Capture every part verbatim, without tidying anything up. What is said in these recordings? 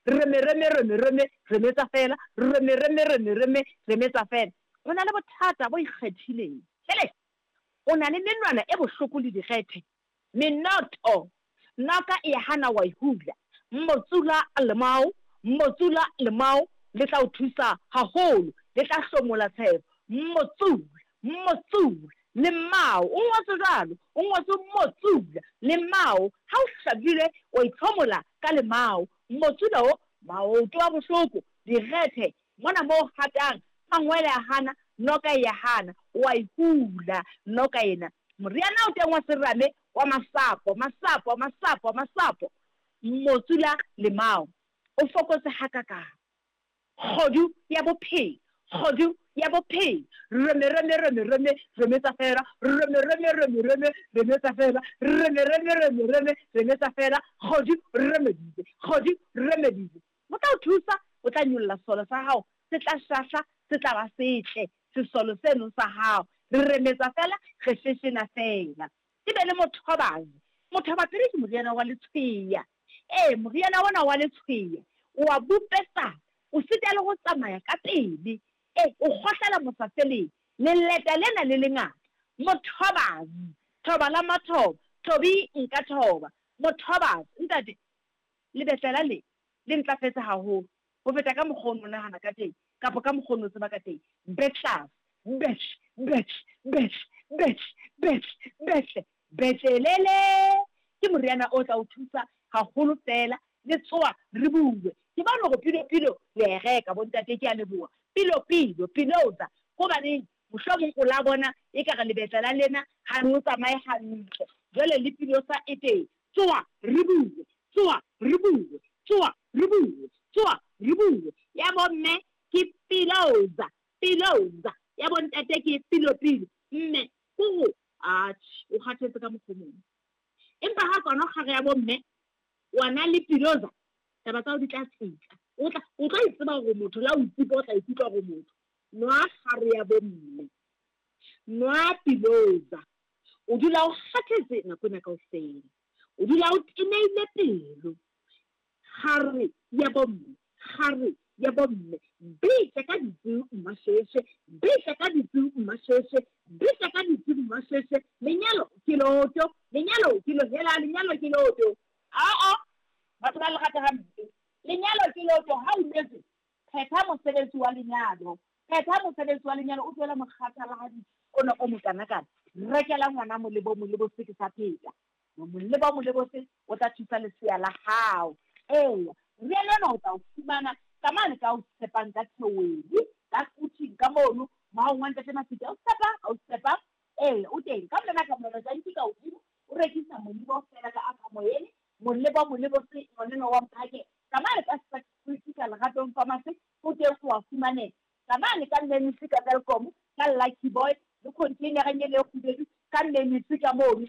Reme, reme, reme, reme, remetsa fela. Reme, reme, reme, reme, remetsa fela. O na le bothata bo ikgethileng. Hele! O na le menwana e bohloko le direthe. Menoto, noka e a hana wa e hula. Motsula lemao, motsula lemao, le tla o thusa haholo, le tla hlomola tshebo. Motsula, motsula, lemao, o ngotswe jwalo, o ngotswe motsula, lemao, ha o hlabile wa itlhomola ka lemao. Motsula o, maoto a bohloko, direthe, mona mo o hatang, mangwele a hana, noka e a hana, wa e hula noka ena. Moriana o teng wa serame wa masapo, masapo, masapo, masapo. Motsula lemao, o fokotse hakakang. Kgodu ya bophelo, kgodu ya bophelo. Reme, reme, reme, reme, remetsa fela. Reme, reme, reme, reme, remetsa fela. Reme, reme, reme, reme, remetsa fela. Kgodu remeditse, kgodu remeditse. O tla o thusa, o tla nyolla sesole sa hao, se tla šahla, se tla ba setle, sesole seno sa hao. Re remetsa fela, re šešena fela. Ke be le mothobazi. Mothobapele ke moriana wa letshweya. Ee, moriana ona wa letshweya o a bopesana, o sita le go tsamaya ka pele. Ee, o kgohlela mosafeleng, leleta lena le lengata. Mothobazi, thoba la mathoba, thobi nka thoba. Mothobazi, ntate, lebetlela le le ntlafetse haholo ho feta ka mokgwa o no nahana ka teng kapa ka mokgwa o no tseba ka teng. Betlas, betl, betl, betl, betl, betl, betle, betlelele. Ke moriana o tla o thusa haholo fela. Le tsoa re bue. Ke bona hore pilo pilo le a e reka bontate, ke a leboha. Pilo pilo, piloza. Hobaneng mohlomong o la bona ekare lebetlela lena ha le o tsamaye hantle. Jwale le pilosa e teng. Tsoa re bue, tsoa re bue, tsoa re bue, tsoa re bue. Ya bomme ke piloza, piloza. Ya bontate ke pilo pilo. Mme kore atjhe o kgathetse ka mokgwa o mong. Empa ha kona kgare ya bomme wa na le piloza, taba tsa hao di tla tsitsa. O tla o tla itseba hore motho la o ikutlwa o tla ikutlwa hore motho. Nwa kgare ya bomme, nwa piloza. O dula o kgathetse nako ena kaofela. O dula o tenehile pelo. Kgare ya bomme, kgare ya bomme. Bitsa ka ditsu mmasheshe, bitsa ka ditsu mmasheshe, bitsa ka ditsu mmasheshe. Lenyalo ke loto, lenyalo ke lo hela, lenyalo ke loto. Aa, batho ba le rata hampe. Lenyalo ke loto, ha o nyetswe, phetha mosebetsi wa lenyalo. Phetha mosebetsi wa lenyalo, o tlohele mokgathalahadi ona o mokanakana. Rekela ngwana molebo, molebo se ke sa pheta. Molebo, molebo se o tla thusa lesea la hao. Eya, moriana ona o tla o fumana ka mane ka o tshepang ka theohedi, ka kuting ka mono, maong wa ntate Mafika. O tshepa, o tshepa. Eya, o teng. Ka mona ka mona tjantji ka hodimo, o rekisa molebo fela ka aka moyeng. Molebo, molebo se ngwaneno wa mphake. Ka mane ka Street ka Leratong Pharmacy, o teng o a fumaneha. Ka mane ka Memisi ka Welkom, ka Lucky Boy, le container-eng e le kgubedu, ka Memisi ka mono.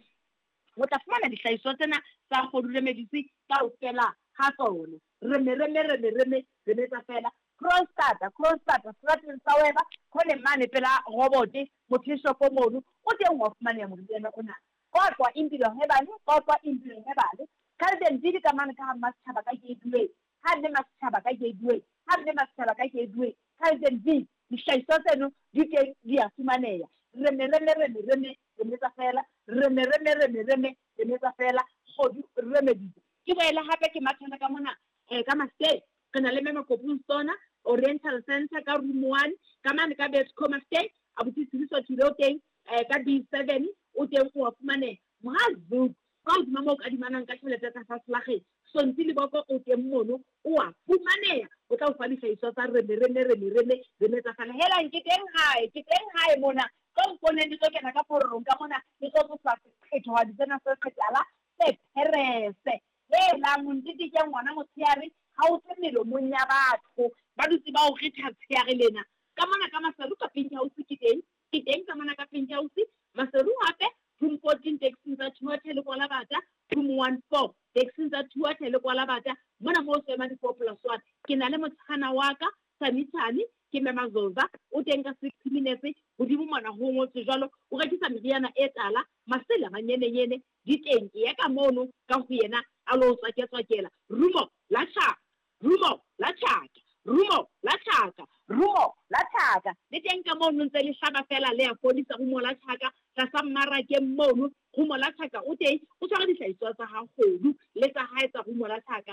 O tla fumana dihlahiswa tsena tsa Kgodu Remedies kaofela ha tsona. Reme, reme, reme, reme, remetsa fela. Kroonstad, Kroonstad, seterateng sa Weba, khoneng mane pela robote, motho mono, o teng wa fumaneha moriana ona. Qwaqwa Impilo Herbal, Qwaqwa Impilo Herbal. Calden Village ka mane ka ha Mmasechaba ka Gateway, ha mme Mmasechaba ka Gateway, ha mme Mmasechaba ka Gateway, Calden Village, dihlahiswa tseno di teng di a fumaneha. Reme, reme, reme, reme, remetsa fela. Reme, reme, reme, reme, remetsa fela. Kgodu Remedies. Ke boela hape ke mathana ka mona, eh, ka Mastey. Re na le Mema Kopung Sona, Oriental Center ka room one, ka mane ka Betco Mastey, abuti Sibiso Thule o teng, eh, ka B seven, o teng o a fumaneha. Mohazuk, ka hodima moo o kadimanang ka tjhelete tsa faselageng, Sonti Leboko o teng mono, o a fumaneha. O tla o fa dihlahiswa tsa reme, reme, reme, reme, remetsa fela. Helang, ke teng hae, ke teng hae mona. Tlo mponeng, le tlo kena ka pororong ka mona, le tlo tlosa seqhetohadi sena se setala, se pherese. Helang, montete ke ngwana motshehare, ha o tswe melomong ya batho. Ba dutse ba o retha tsheare lena. Ka mona ka Maseru ka Pink House ke teng, ke teng ka mona ka Pink House. Maseru hape, room fourteen taxing tsa Thuathe le Kwalabata, room one four taxing tsa Thuathe le Kwalabata. Mona moo se ema di four plus one. Ke na le motshana wa ka, Sanithane, ke Mema Zoza, o teng ka sixty minutes, hodimo mona ho ngotswe jwalo, o rekisa meriana e tala, masela manyenenyene, di teng, e ya ka mono, ka ho yena, a lo tswaketswakela. Rumo la tjhaba, Rumo la Tjhaka, Rumo la Tjhaka, Rumo la Tjhaka. Le teng ka mono ntse le hlaba feela le a fodisa Rumo la Tjhaka tlasa mmarakeng mono. Rumo la Tjhaka o teng, o tshware dihlahiswa tsa ha Kgodu le tsa hae tsa Rumo la Tjhaka.